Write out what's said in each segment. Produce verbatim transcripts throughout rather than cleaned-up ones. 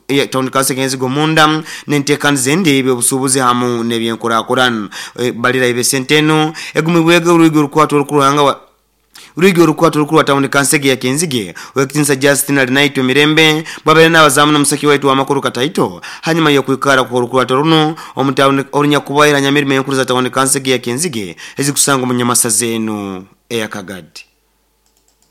ya town council Kyenzige omunda n'enteekaniza endi ebyobusuubuzi hamu n'ebyenkurakurana. E, balira ebesente eno egumibwege orwigi orukwata orukuruhanga Urigi orukwata orukuru wa town council ya Kyenzige wekitinsa Justin Alinaitwe Mirembe bwabere n'abazamu n'omusaki waitu w'amakuru Kataito hanyuma y'okwikara ku orukwata runo omu town orunyakubaira nyamirimo enkuru za town council ya Kyenzige ezikusanga mu nyamasaza eno eya Kagadi.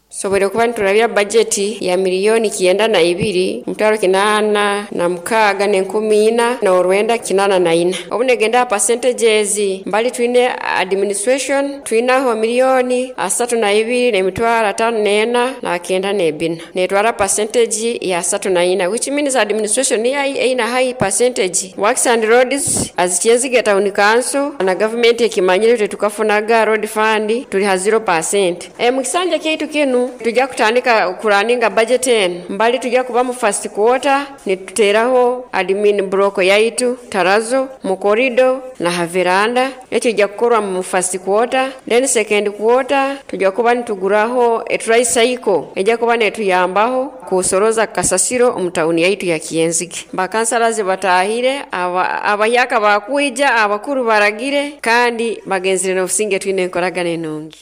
Sobere kuba niturabya bajeti ya miliyoni kienda na ibiri mutaro kinana na mukaga n'enkumi ina na orwenda kinana na ina. Obunegenda percentages mbali twine administration twinaho miliyoni asatu na ibiri n'emitwaro atano n'ena na kenda n'ebina netwara percentage ya asatu na ina, which means administration ya ina high percentage. Works and roads as Kyenzige town council na government ekimanyire tukafunaga road fund tuli ha zero percent. E mukisanja kyaitu kinu tujja kutandika kuraninga budget eno mbali tujja kuba mu first quarter nituteraho admin block yaitu tarazo mu corridor na haveranda ekyo ijja kukorwa mu first quarter. Then second quarter tujja kuba nituguraho e tricycle ejja kuba netuyambaho kusoroza kasasiro omu town yaitu ya Kyenzige. Bakansalazi batahire abayaka bakwija abakuru baragire kandi bagenzire n'obusinge twine enkoragana enungi.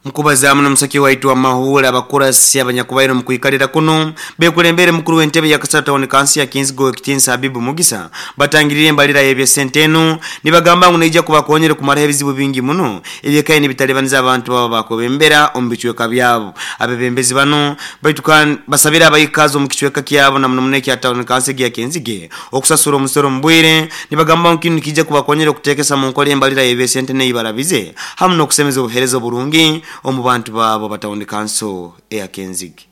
Mkubazamu na musaki waitu wa mahula abakurasi abanyakubairo mkuikalira kuno bekulembere mukuru w'entebe ya Kasata town council ya Kyenzige Owekitinsa Habibu Mugisa batangirire embalira y'ebyesente eno nibagamba ngu neija kubakonyera kumara ebizibu bingi muno ebyekaye nibitalibaniza abantu baba bakobembera omu bicweka byabo. Abebembezi bano baitu basabira abayikazi omu kicweka kyabo na muno muno ekya town council ya Kyenzige okusasura omusoro mbwire nibagamba ngu kinu kijja kubakonyera okuteekesa mu nkola embalira y'ebyesente neibarabize hamu n'okusemeza obuheereza oburungi omu bantu babo batawuni kanso eya Kyenzige.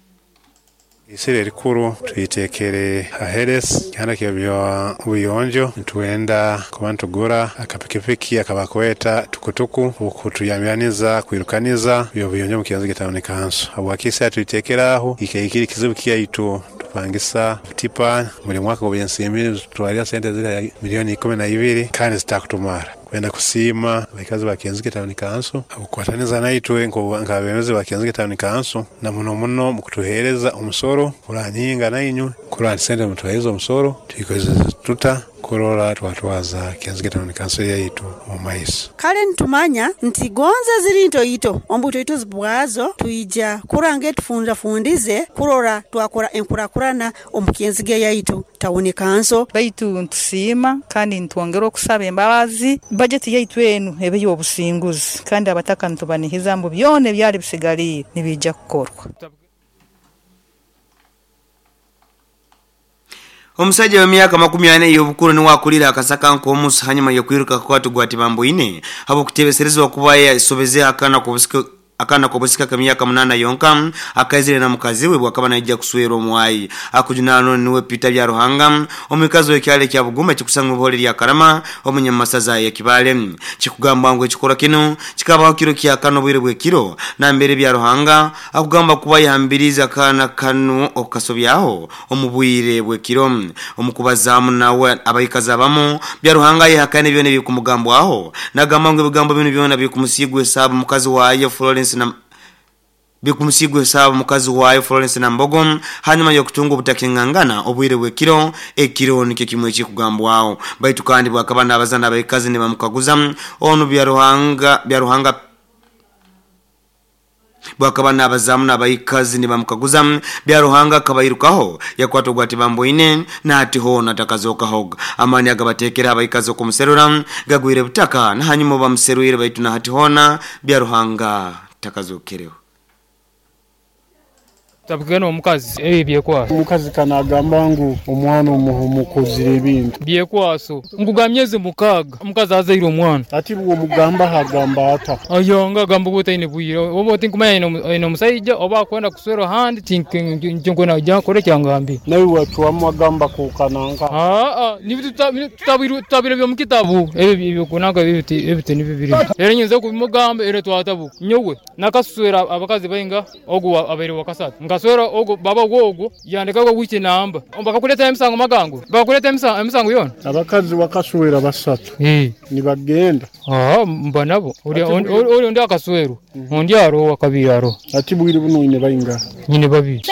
Isire rikuru tuitekere aheres kihanda kyebyo buyonjo ntuenda kuba ntugura akapikipiki akabakweta tukutuku okutuyamyaniza kwirukaniza byo buyonjo mu Kyenzige town council. Habwakisa tuitekeraho ikeikiri kizibu kyaitu tupangisa tipa muri mwaka gw'ensimbi tutwalira sente zira milioni ikumi na ibiri kandi zitakutumara. Kwenda kusiima abaikazi ba Kyenzige town council okukwataniza naitwe nk'abebembezi ba Kyenzige town council na muno muno mu kutuheereza omusoro kuranyinga nainywe kurani sente mutuheereza omusoro tuikozesa tuta kurora twatwaza Kyenzige town council yaitu mu maiso. Kale ntumanya nti gonza ziri ntoito ombuto ito zibwazo tuija kurange tufunza fundize kurora twakora enkurakurana omu Kyenzige yaitu town council. Baitu ntusiima kandi ntwongera okusaba embabazi budget yaitu enu ebe y'obusinguzi kandi abataka ntubanihiza mbu byona ebyali bisigaliire nibijja kukorwa. Omusajja w'emyaka makumi ane y'obukulu niwe akulira akasaka nk'omusu hanyuma y'okwiruka kukwata gwati bamboine habw'okuteebeserezibwa kuba yasobeze akana k'obusika akana k'obusika k'emyaka munana yonka akaizire na mukazi we bwakaba naija kuswera omwayi. Akujunano niwe Peter Byaruhanga omukazi w'ekyalo kya Buguma kikusanga obuhole lya Karama omunyamasaza ya Kibale. Kikugamba ngu ekikora kino kikabaho kiro kya kano bwire bw'ekiro nambere Byaruhanga akugamba kuba yahambiriza akana kano okasobyaho omu bwire bw'ekiro. Omukubazamu nawe abayikazi abamu Byaruhanga yehakana byona ebikumugambwaho nagamba ngu ebigambo bino byona bikumusigwa esabu mukazi wayo Florence na bikumusigwe sabu mukazi wayo Florence na Mbogo hanyuma y'okutunga obutakingangana obwire bw'ekiro ekiro nikyo kimwe ekikugambwaho. Baitu kandi bwakaba n'abazana abayikazi nibamukaguza ono Byaruhanga Byaruhanga bwakaba n'abazamu n'abayikazi nibamukaguza Byaruhanga akabayirukaho yakwata ogwati bamboine nati hoona takazokahoga. Amani agabateekera abayikazi okumuserura gagwire butaka na hanyuma bamuserwire baitu na hati hoona Byaruhanga takazokereho. Tabugena omukazi ebi byekwaso. Omukazi kanagamba ngu omwana omukozire ebintu byekwaso ngugamyeze mukaga omukazi azaire omwana ati bwo mugamba hagamba ata ayonga gamba gutaine bwire oba otinkumanya ino omusajja oba akwenda kuswera handi tinkwenda ujja kore kyangambi nawe watuwamu agamba kukananga ah ah ni tutabiro tutabiro byo mukitabu ebi byokunanga ebi ebi ni bibiri rero nyinza kubimugamba ere twatabu nyowe nakaswera abakazi bainga ogu abaire wakasatu ngaswera ogo baba wogo yandika go wiki namba bakakuleta emisango magango bakakuleta emisango emisango yona abakazi wakaswera basatu eh nibagenda ah mba nabo uri uri ndi akaswero undi aro wakabiri aro ati bwiri buno ine bainga nyine babiri.